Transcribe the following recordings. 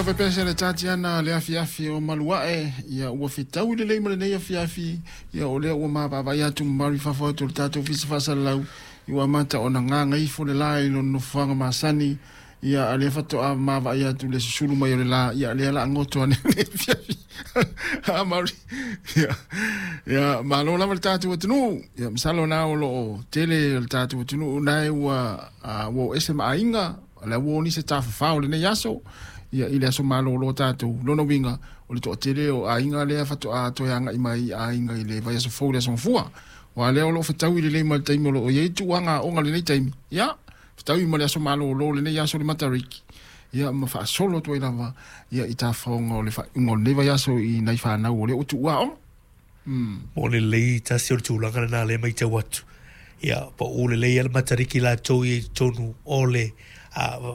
Faapea le tatiana le afiafi o maluae, ia ua fetaui lelei ma lenei afiafi, ia o lea ua mavaavai atu mamalu i fafo atu o le tatou Ofisa Faasalalau, ua amata ona gagaifo le la i lona nofoaga masani, ia a lea faatoa mavaai atu le susulu mai o le la, ia lea la goto ane le afiafi. A Mari, ia, ia malo lava le tatou atunuu, ia masalo na o loo tele o le tatou atunuu na e ua ua ese ma aiga, o le ua oni se tafafao o lenei aso, ia i le aso malolo tatou, lona uiga o le toatele o aiga lea faatoa toe agai mai i aiga i le vaiaso fou le aso Gafua. Aua lea o lo o fetaui lelei ma le taimi o lo o i ai tuuaga aoga lenei taimi, ia fetaui ma le aso malolo lenei aso le Matariki, ia ma faasolo atu ai lava ia i tafaoga o le faaiuga o lenei vaiaso i nai fanau o lea ua tuua aoga. Mo le lelei tasi o le tulaga lena lea e matau atu, ia pau lelei lava le Matariki latou ia i totonu o le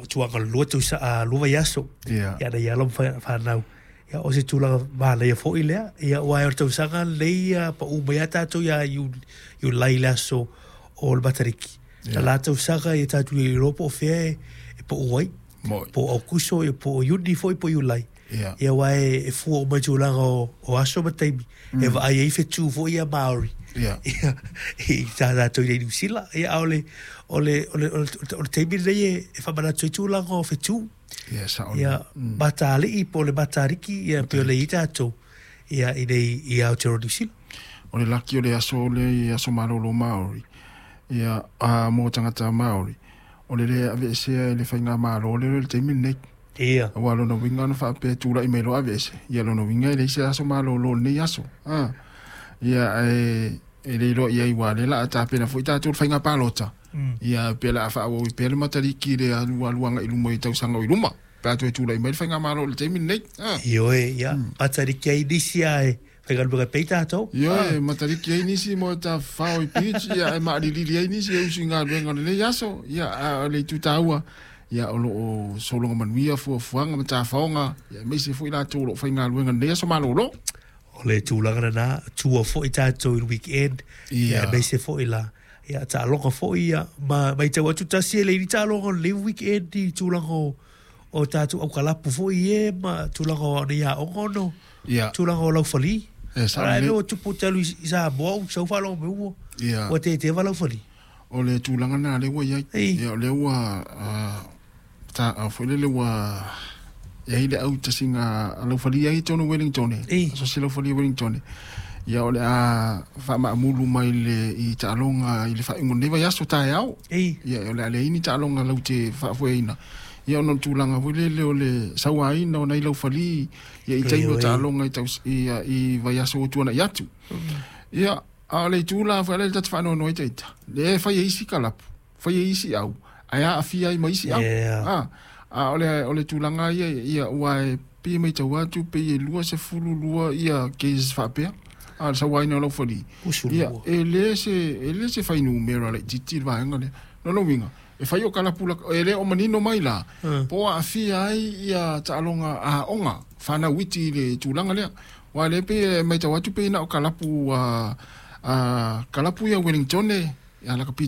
tulaga o le lua tausaga, lua vaiaso. Ia nai alo ma fanau. Ia o se tulaga manaia foi lea. Ia aua o le tausaga lenei ia pau mai lava tatou ia Iulai i le aso o le Matariki. O la tausaga ia tatou le iloa po o fea e pau ai. Po o Aokuso po o Iuni foi po o Iulai. Ia aua e fua uma i tulaga o aso ma taimi e vaai ai fetu foi ia Māori. Ia i tā tātou i Niu Sila. Ia a o le o le o le o le taimi lenei e faamanatu ai tulaga o fetu. Ia sao. Ia Matalii po o le Matariki ia pei ona i ai tatou ia i nei i Aotearoa Niu Sila. O le laki o le aso le aso malolo Māori. Ia a mo tagata Māori. O le le aveesea e le faigamalo lea i le taimi lenei. Ia. Aua lona uiga ona faapea e tulai mai loa aveese, ia lona uiga e leai se aso malolo o lenei aso. Ia ae e le iloa i ai aua o lea o le a tapena foi tatou i le faiga palota, ia pe o le a faaauau ai pea le Matariki i le alualu agai i luma i tausaga o i luma pe a toe tulai mai le faigamalo i le taimi lenei. Ioe, ia, Matariki ai nisi ae faigaluega pea i tatou. Ioe, Matariki ai nisi mo tafafao i beach, ia ae maalilili ai nisi e usu i galuega o lenei aso. Ia, a o le itu taua, ia o lo o sologa manuia fuafuaga ma tafaoga, ia aemaise foi latou o lo o faigaluega i lenei aso malolo. O le tulaga lena, tua foi tatou i le weekend, ia aemaise foi la, ia taaloga foi ia, ma matau atu tasi e leai ni taaloga o lenei weekend i tulaga o o tatou aukalapu foi e ma tulaga o nei aoga ona o tulaga o laufali. E sao lelei. O le mea ua tupu ou te alu i Samoa ou sau faalogo mai ua ua teteva laufali. O le tulaga lena lea ua i ai. Ia o lea ua ta foi lele ua i ai le autasiga a laufali ai i totonu o Wellington, asosi laufali o Wellington. Ia o le a faamaamulu mai le i taaloga i le faaiuga o lenei vaiaso taeao. Ia o le a leai ni taaloga latou te faafoeina. Ia ona o le tulaga foi lele o le sauaina o nai laufali ia i taimi o taaloga i taus, i, i vaiaso ua tuanai atu. Ia, a o le itu la foi lea ta te faanoanoa ai ita, lea e fai e isi kalapu, fai e isi au, ae aafia ai ma isi au. A, a o le, o le tulaga ia, ia ua e pei e matau atu pei e 22 ia cases faapea. A le sauaina o laufali. Ia, e le se, e le se fuainumera laitiiti le vaega lea. Lona uiga, e fai o kalapu e le o manino mai la, po o aafia ai ia taaloga aoga fanau iti i le tulaga lea. Aua o lea pei e matau atu pei na o kalapu, kalapu ia Wellington, ia lakapi.